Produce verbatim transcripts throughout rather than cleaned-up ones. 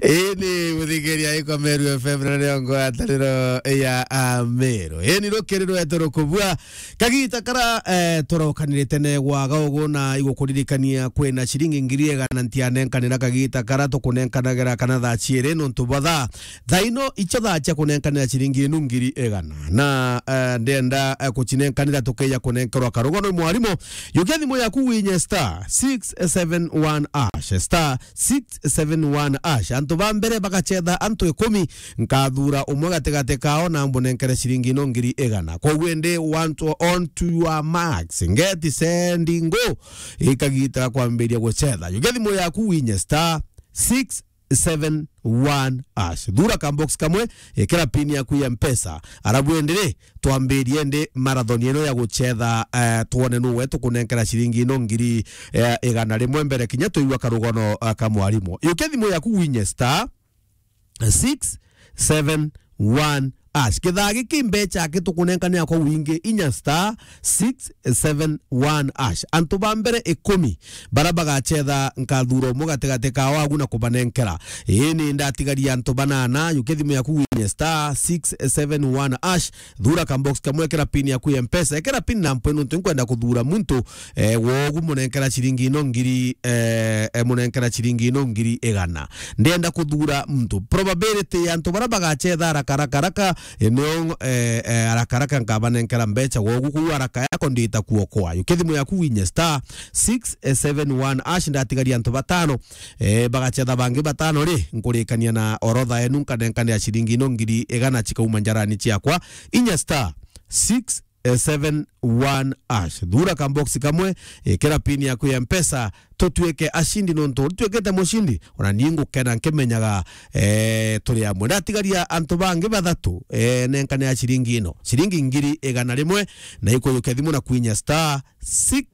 Ini muthikiria iko Meru F M na nio ngwataniro ya Ameru. Ini rukiri rwetu rukubua. Kagita kara, eh, turokanire tene gwaga ugu na igukuririkania kwina ciringi ngiri igana ntianenkanira kagita kara tukunenkanagira kana thaa ciiri nontu bwa thaa. Thaa ino icio thaa cia kunenkanira ciringi inu ngiri igana. Na, eh, ndenda, eh, kucinenkanira tukeja kunenkerwa karugono mwarimu. Yukia thimu yaku winye star six seven one hash, star six seven one hash. Antu ba mbere bagacetha antu ikumi, nkathura umwe gatigati kao na mbunenkere ciringi ino ngiri igana. Koguo indi, want to, on to your marks, get set, go. Ikagita kwambiria gucetha. Yukia thimu yaku winye star six seven one hash. Thura ka box kamwe, ikira pin yaku ya Mpesa. Arabu indi ri, twambirie ndi marathon ino ya gucetha, eh, twone nuwe tukunenkera ciringi ino ngiri, eh, igana rimwe mbere kinya tuigua karugono, eh, ka mwarimu. Yukia thimu yaku winye star six seven one hash. Kithaa giki mbecha aki tukunenkanira kwa wingi inya star six seven one hash. Antu ba mbere ikumi bara bagacetha nkathura umwe gatigati kao agu na kubanenkera. Ini ndatigaria antu banana, yukia thimu yaku winye star six seven one hash. Thura ka box kamwe, ekera pin yaku ya Mpesa, ekera pin na mpwe nontu nkwenda kuthura muntu, eh, wogu munenkera ciringi ino ngiri, eh, eh, munenkera ciringi ino ngiri igana. Ndenda kuthura muntu. Probability ya antu bara bagacetha haraka, haraka, haraka, eh, nio, eh, eh, haraka, haraka nkabanenkera mbecha wogu kuu haraka yako ndita kuokoa. Yukia thimu yaku winye star six seven one hash, ndatigaria antu batano. Eh, bagacetha bangi batano ri, nkurikania na orodha yenu, nkanenkanira ciringi ino ngiri igana cikauma njarani ciakwa. Inya star six seven one hash. Thura ka box kamwe, ikira pin yaku ya Mpesa, tutuike ashindi nontu tutuikite mushindi. Ona ni ngukena nkimenyaga, eh, turi amwe. Ndatigaria antu bangi bathatu, eh, nenkanira ciringi ino. Ciringi ngiri igana rimwe, na ikuyukia thimu na kwinya star six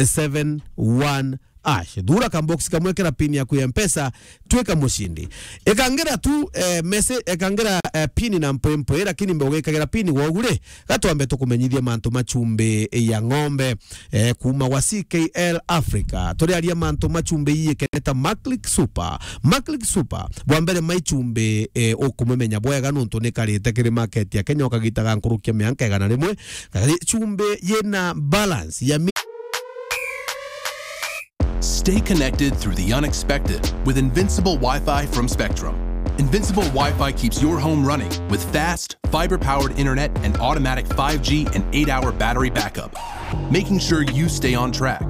seven one hash. Thura ka box kamwe, kira pin yaku ya Mpesa, twika mushindi. Ikangira tu, eh, message, ikangira, eh, pin na mpwempwe, lakini mbe ugikagira pin wogu ri, gatwambe tukumenyithie mantu ma chumbi ya ng'ombe, eh, kuma wa C K L Africa. Turiaria mantu ma chumbi iikeneta Maclick Super. Maclick Super, bwa mbere mai chumbi, eh, ukumumenya bwega nontu ni karite kiri market ya Kenya ukagitaga nkurukia mianka igana rimwe. Kari chumbi yina balance ya mi- Stay connected through the unexpected with Invincible Wi-Fi from Spectrum. Invincible Wi-Fi keeps your home running with fast, fiber-powered internet and automatic five G and eight-hour battery backup, making sure you stay on track